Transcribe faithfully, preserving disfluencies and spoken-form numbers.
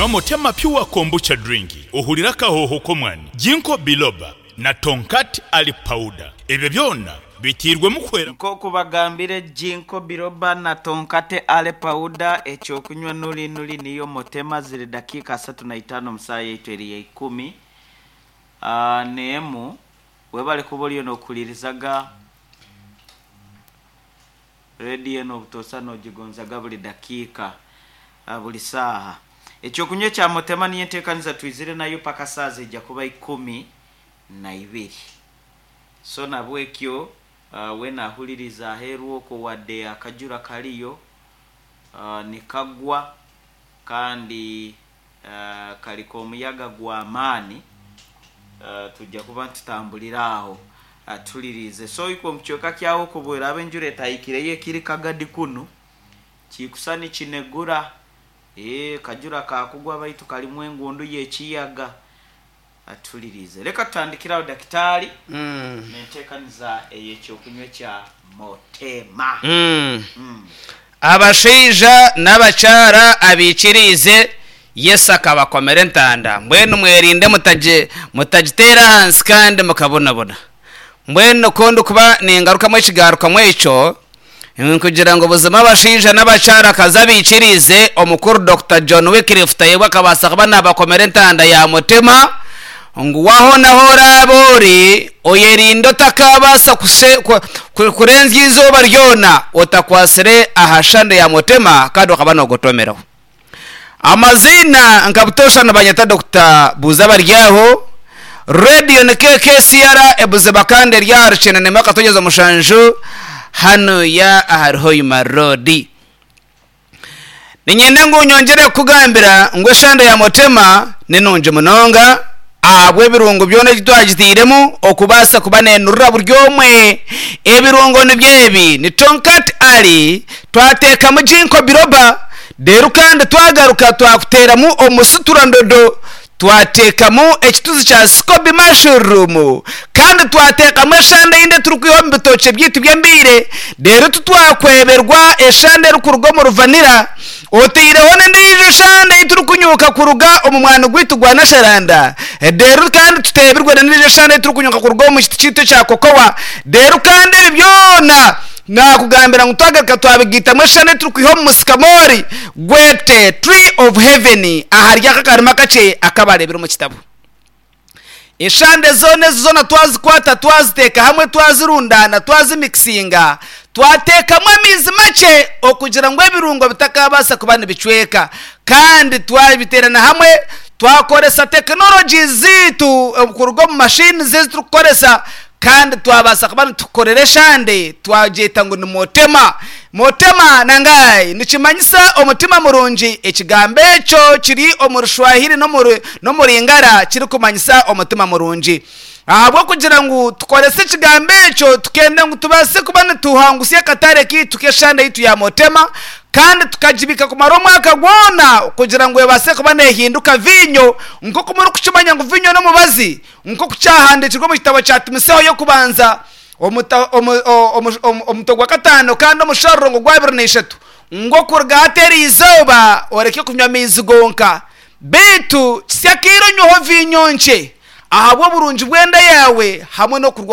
Nywa Motema Pure Kombucha Drink ohurire akahooho k'omwani, Ginkgo Biloba na Tongkat Ali Powder. Ebyo byona biteirwemu kuhwera. Nk'oku bagambire Ginkgo Biloba na Tongkat Ali Powder, ekyokunywa nuri nuri niyo Motema ziri dakiika asatu na itaano omu saaha yaitu eri ya ikumi ah, n'emu. Webale kuba oriyo nookuhuririzaga rediyo enu obutoosha noogigonzaga buri dakiika, ah, buri saaha. Ekyokunywa ekya Motema niyo enteekaniza twizire nayo paka saaha ziija kuba ikumi na ibiri. So nabwekyo uh, weena ahuririza aheeru okwo wadde akajura kariyo uh, nikagwa kandi uh, kari k'omuyaga gw'amaani, uh, tujja kuba nitutambulira aho uh, tuhuririize. So ikwe omu kicweka kyawe okwo bweraaba enjura etahikireyo ekiri kagadi kunu kikusa nikinegura, ee kajura kakugwa baitu karimu engundu y'ekiyaga, atuhuririize. Reka tutandikire aho dakitaari Mm. n'enteekaniza ey'ekyokunywa ekya Motema. Mm. Mm. Abashaija n'abakyara abiikiriize Yesu akabakomera entanda. Mbwenu mwerinde mutagi- mutagiteera ahansi kandi mukabonabona. Mbwenu ku ndikuba ningarukamu ekigarukamu ekyo nkugira ngu buzima abashaija n'abakyara kazi abiikiriize omukuru Doctor John Wycliffe Tayebwa akabaasa kuba naabakomera entanda ya mutima ngu waho naho oraabe ori oyerinde otakabaasa kuse- ku- ku- kurenzya izooba ryona otakwasire aha shande ya mutima kandi okaba noogotomeraho. Amaziina nka butoosha nibanyeta Doctor Buuza Baryaho. Radio ni K K C R ebuziba kandi eri aha Rukyene nemwe akatonyeza mushanju hanu ya ahari Hoima Road. Niinyenda ngu nyongyere kukugambira ngu eshande ya Motema ni nungi munonga ahabw'ebirungo byona ebi twagitairemu okubaasa kuba neenurira buri omwe. Ebirungo nibyo ebi: ni Tongkat Ali, twateekamu Ginkgo Biloba, reero kandi twagaruka twakuteeramu omusuturandodo, twateekamu ekituzi kya Scoby Mushroom, kandi twateekamu eshande eyindi eturikwiha omu bitookye byaitu by'embiire, reero titwakweberwa eshande erikuruga omu ruvanira, otaireho n'endiijo eshande ei turikunyuuka kuruga omu mwani gwaitu gwa Nasharanda, reero kandi tuteebirwe n'endiijo eshande ei turikunyuuka kuruga omu kiti kyaitu ekya kokowa, reero kandi ebi byona nakugambira ngu twagaruka twabigaitamu eshande ei turikwiha omu musikamori gwete Tree of Heaven ahari aka akarima kakye akabareebire omu kitabo. Eshande zoona ezi zoona twazikwata twaziteeka hamwe twazirundaana twazimikisinga twateekamu amaizi makye okugira ngu ebirungo bitakabaasa kuba nibicweka kandi twabiteerana hamwe twakoresa tekinologi zaitu kuruga omu mashini ezi turikukoresa kandi twabaasa kuba nitukorera eshande twagyeta ngu ni Motema. Motema nangai nikimanyisa omutima murungi. Ekigambo ekyo kiri omu Rushwahiri n'omu Ringara kirikumanyisa omutima murungi. Ahabw'okugira ngu tukorese ekigambo ekyo tukenda ngu tubaase kuba nituhangusya akatare kaitu k'eshande yaitu ya Motema kandi tukagibika kumara omwaka gwona kugira ngu ebaase kuba neehinduka viinyo nk'oku murikukimanya ngu viinyo n'omubazi nk'oku kyahandiikirwe omu kitabo kya Timoteyo y'okubanza omuta- omu- o- omu- omu- omutwe gwa kataano kandi omusharuro gwa abiri na ishatu ngu okuruga hati eri izooba oreke kunywa amaizi gonka beitu kisya kaire onyweho viinyo nkye ahabw'oburungi bw'enda yaawe hamwe n'okurwara.